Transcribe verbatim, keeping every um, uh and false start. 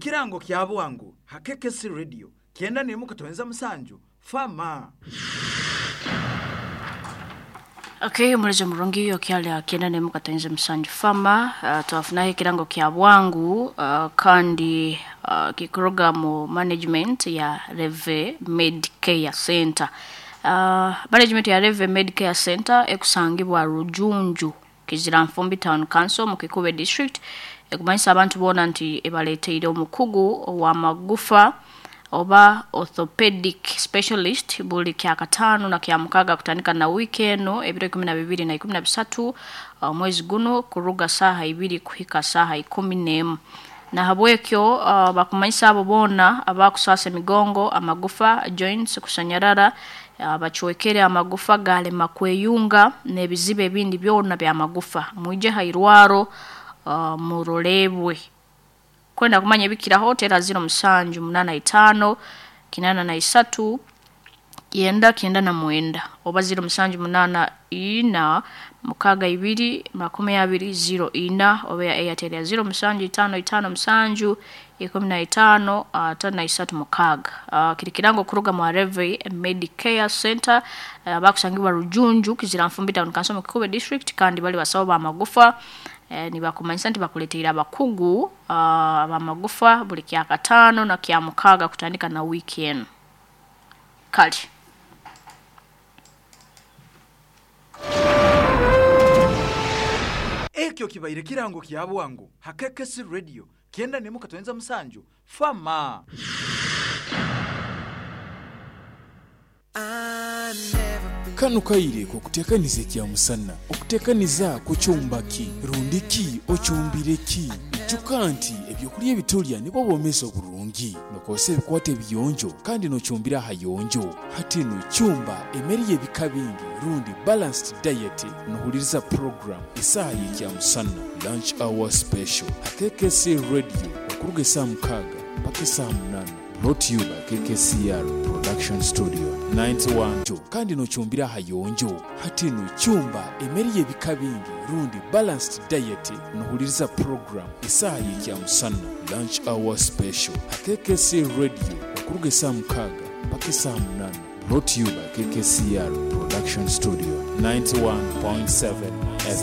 Kirango kya bwangu ha K K C Radio kyenda nemu katonyeza musanju fama. Okay, omulezi omurungi okyali kyenda nemu katonyeza musanju fama. uh, twafunaho ekirango kya bwangu uh, kandi uh, kikuruga mu management ya Reve Medicare Center. uh, management ya Reve Medicare Center ekusangibwa Rujunju, Kiziranfumbi Town Council, mu Kikube District, ekumanyisa abantu boona nti ebaleeteire omukugu ow'amagufa oba orthopedic specialist buli kyakataano na kyamukaga kutandika na wiiki eno, ebiro ikumi na bibiri na ikumi na bisatu omwezi guno, kuruga saaha ibiri kuhika saaha ikumi n'emu. Nahabwekyo uh, bakumanyisa abo boona abakusasa emigongo, amagufa, joints kusanyarara, abacwekere amagufa galema kweyunga n'ebizibu ebindi byona byamagufa, mwije hairwaro uh, murolebwe. Kwenda kumanya ebikiraho, tera ziro musanju munana itano kinana na isatu kyenda kyenda na mwenda oba ziro musanju munana ina mukaaga ibiri makumi abiri ziro ina, oba ya Airtel ya ziro musanju itano itano musanju ikumi na itano atano na isatu mukaaga. uh, kiri kirango kuruga mu Areve Medicare Center uh, bakusangibwa Rujunju, Kiziranfumbi Town Council, mu Kikube District, kandi bali basawo bamagufa. eh, nibakumanyisa nti bakuleteire abakugu uh, bamagufa buli kyakataano na kyamukaaga kutandika na wiiki eno. Kale. Ekyo kibaire kirango kya bwangu ha K K C Radio kyenda nemu katonyeza musanju fama. Kano kaire kokutekaniza ekyamusana, okutekaniza kukyumbaki rundiki okyumbireki. Ijuka nti ebyokulya ebitulya nibwo bwomezi oburungi. Nokozesa ebikwata ebiyonjo kandi nokyumbira ahayonjo. Hati nokyumba emere y'ebika bingi rundi balanced diet. Nohuliriza program esaaha y'ekyamusana, lunch hour special, ha K K C Radio, okuruga esaaha mukaaga mpaka esaaha munana. Brought to you by K K C R Production Studio ninety-one. Kandi nokyumbira ahayonjo. Hati nokyumba emere y'ebika bingi rundi balanced diet. Nohuliriza program esaaha y'ekyamusana, lunch hour special, ha K K C Radio, okuruga esaaha mukaaga mpaka esaaha munana. Brought to you by K K C R Production Studio ninety-one point seven F M.